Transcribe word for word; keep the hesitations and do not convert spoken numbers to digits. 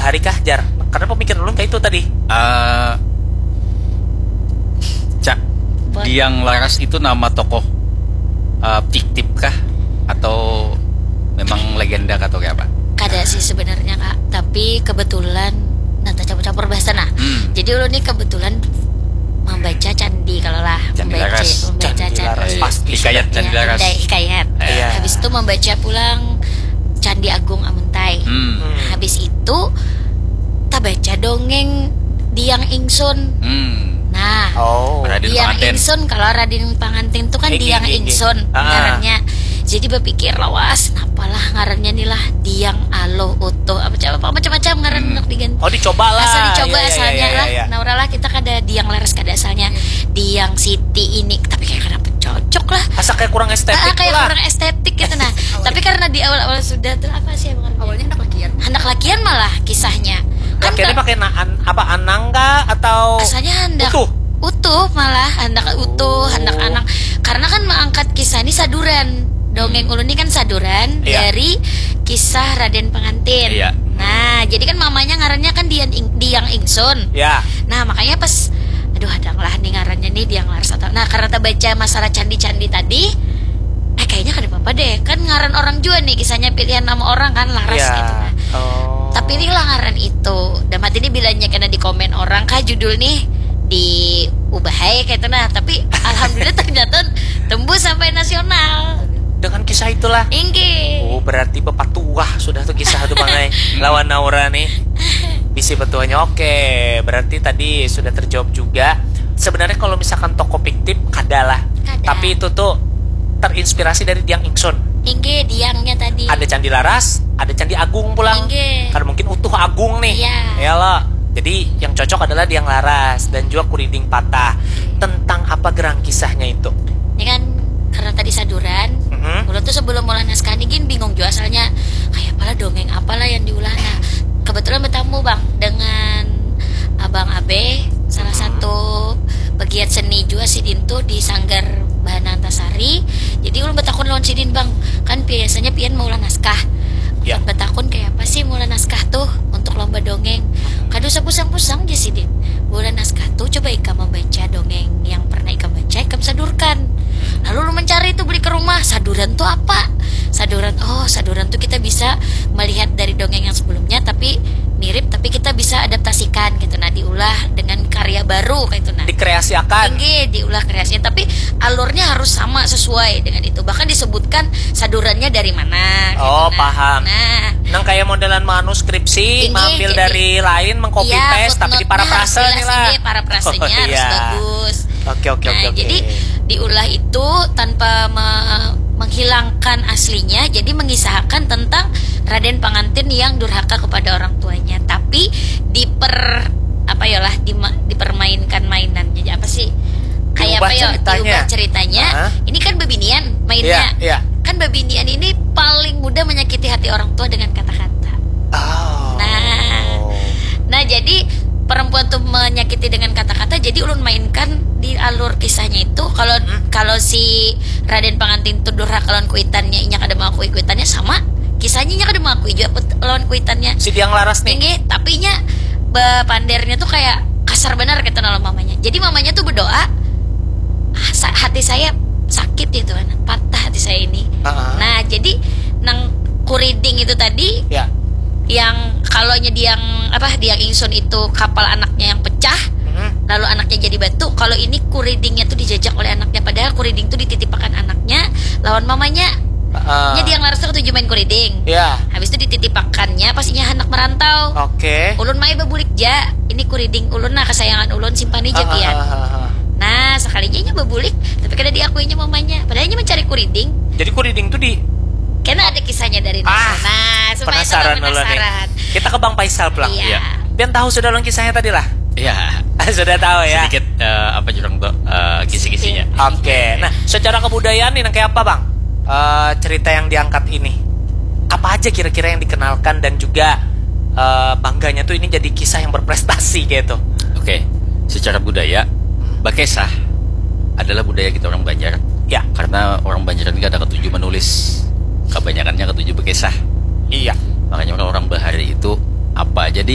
Hari kah, Jar? Karena pemikiran ulun kayak itu tadi. Eh, Cak, Diang Laras itu nama tokoh eh, fiktif kah? Atau memang legenda kah atau kayak apa? Kada sih sebenarnya, Kak, tapi kebetulan, nah, tercampur-campur bahasa, nah. Hmm. Jadi ulun nih kebetulan membaca candi kalau lah. Candi membaca, Laras. Membaca candi, candi Laras. Pasti hikayat sudah. Candi ya, Laras. Hikayat. Ya. Habis itu membaca pulang Candi Agung Amuntai. Hmm. Habis itu tabaca dongeng Diang Ingsun. Hmm. Nah, oh. Diang Ingsun, kalau Raden Pangantin itu kan Diang Ingsun ngarannya. Jadi berpikir lawas, napalah ngarannya nih lah, Diang, Aluh, Utuh, apa macam-macam ngaran hmm. Nak diganti. Oh, dicoba lah. Asal dicoba ya, asalnya ya, ya, lah. Ya. Nah, lah kita kada Diang Laras kada asalnya. Diang Siti ini, tapi kayak kenapa cocok lah. Asa kayak kurang estetik ah, kayak lah. Kurang estetik gitu nah. Tapi karena di awal-awal sudah tuh apa sih yang awalnya hendak lakian. Hendak lakian malah kisahnya. Kan lakiannya pakai naan apa anang kah atau asalnya hendak utuh. Utuh malah hendak utuh, oh. Hendak anang. Karena kan mengangkat kisah ini saduran. Dongeng hmm. Ulun ini kan saduran iya. Dari kisah Raden Pengantin. Iya. Nah, jadi kan mamanya ngarannya kan Diang Ingsun. Iya. Nah, makanya pas aduh ada lah nih ngarannya nih Diang Laras atau nah karena terbaca masalah candi-candi tadi eh kayaknya kada apa-apa deh kan ngaran orang juga nih kisahnya pilihan nama orang kan Laras ya. Gitu kan oh. Tapi ini lah ngaran itu dan mati ini bilanya kena di komen orang kah judul nih diubahai kayak itu nah tapi alhamdulillah ternyata tembus sampai nasional dengan kisah itulah inggih oh berarti bapak tua sudah tuh kisah tuh bangai lawan Naura nih bisi petuanya oke berarti tadi sudah terjawab juga sebenarnya kalau misalkan toko fiktif kadalah Kada. Tapi itu tuh terinspirasi dari Diang Ingsun. Inggih, Diangnya tadi. Ada Candi Laras, ada Candi Agung pulang. Inggih. Karena mungkin utuh Agung nih. Iya. Ya lo. Jadi yang cocok adalah Diang Laras dan juga Kuriding Patah. Tentang apa gerang kisahnya itu? Ini kan karena tadi saduran, mm-hmm. Ulun tuh sebelum mulai naskah ini gin bingung juga asalnya kayak apalah dongeng apalah yang diulah. Nah, kebetulan bertamu bang dengan Abang Abe, salah hmm. Satu pegiat seni juga sidin tuh di Sanggar Bahana Antasari. Jadi ulun betakun lawan sidin bang, kan biasanya pian maulah naskah. Ya. Betakun kayak apa sih maulah naskah tuh untuk lomba dongeng. Hmm. Kada usah pusang-pusang aja sidin. Maulah naskah tuh coba ikam membaca dongeng yang pernah ikam baca, ikam sadurkan. Lalu ulun mencari tuh beli ke rumah, saduran tuh apa? Saduran, oh saduran tuh kita bisa melihat dari dongeng yang sebelumnya tapi mirip tapi kita bisa adaptasikan gitu nah diulah dengan karya baru kayak itu nah dikreasiakan inggih diulah kreasinya tapi alurnya harus sama sesuai dengan itu bahkan disebutkan sadurannya dari mana gitu, oh nah. Paham nah nang kayak modelan manuskripsi inggih, mampil jadi, dari lain mengcopy iya, paste tapi diparafrase nih lah inggih, parafrasenya oh, harus iya. Bagus oke oke nah, oke oke jadi diulah itu tanpa me- menghilangkan aslinya jadi mengisahkan tentang Raden Pangantin yang durhaka kepada orang tuanya tapi diper apa ya lah di, dipermainkan mainan jadi apa sih kayak apa ya diubah ceritanya uh-huh. Ini kan bebinian mainnya yeah, yeah. Kan bebinian ini paling mudah menyakiti hati orang tua dengan kata-kata oh. Nah nah jadi perempuan tuh menyakiti dengan kata-kata jadi ulun mainkan di alur kisahnya itu kalau hmm? Kalau si Raden Pangantin tuh durhaka lawan kuitannya inya kada mengakui kuitannya sama kisahnya inya kada mengakui juga lawan kuitannya si Diang Laras nih inggih tapi inya pandernya tuh kayak kasar benar gitu nah mamanya jadi mamanya tuh berdoa ah, hati saya sakit gitu kan patah hati saya ini uh-huh. Nah jadi nang kuriding itu tadi ya. Yang kalau nyediang apa diang ingsun itu kapal anaknya yang pecah hmm. Lalu anaknya jadi batu kalau ini kuridingnya tuh dijajak oleh anaknya padahal kuriding tuh dititipakan anaknya lawan mamanya uh, nya diang laras tuh ketuju main kuriding ya. Habis itu dititipakannya pas inya hendak merantau oke okay. Ulun mai bebulik ja ini kuriding ulun nah kesayangan ulun simpan aja uh, pian uh, uh, uh, uh. Nah sekalinya inya bebulik tapi kada diakuinya mamanya padahal inya mencari kuriding jadi kuriding tuh di karena ada kisahnya dari ah, nah supaya penasaran, penasaran. Kita ke Bang Faisal pulang. Iya. Pian tahu sudah lawan kisahnya tadi lah? Iya. Sudah tahu ya. Sedikit uh, apa jurang tuh uh, kisi-kisinya. Oke. Okay. Nah, secara kebudayaan nih kayak apa bang? Uh, cerita yang diangkat ini apa aja kira-kira yang dikenalkan dan juga uh, bangganya tuh ini jadi kisah yang berprestasi gitu. Oke. Okay. Secara budaya, bakesah adalah budaya kita orang Banjar. Ya. Karena orang Banjar ini ada ketujuh menulis. Kebanyakannya ketujuh bakesah. Iya. Makanya orang-orang bahari itu apa aja di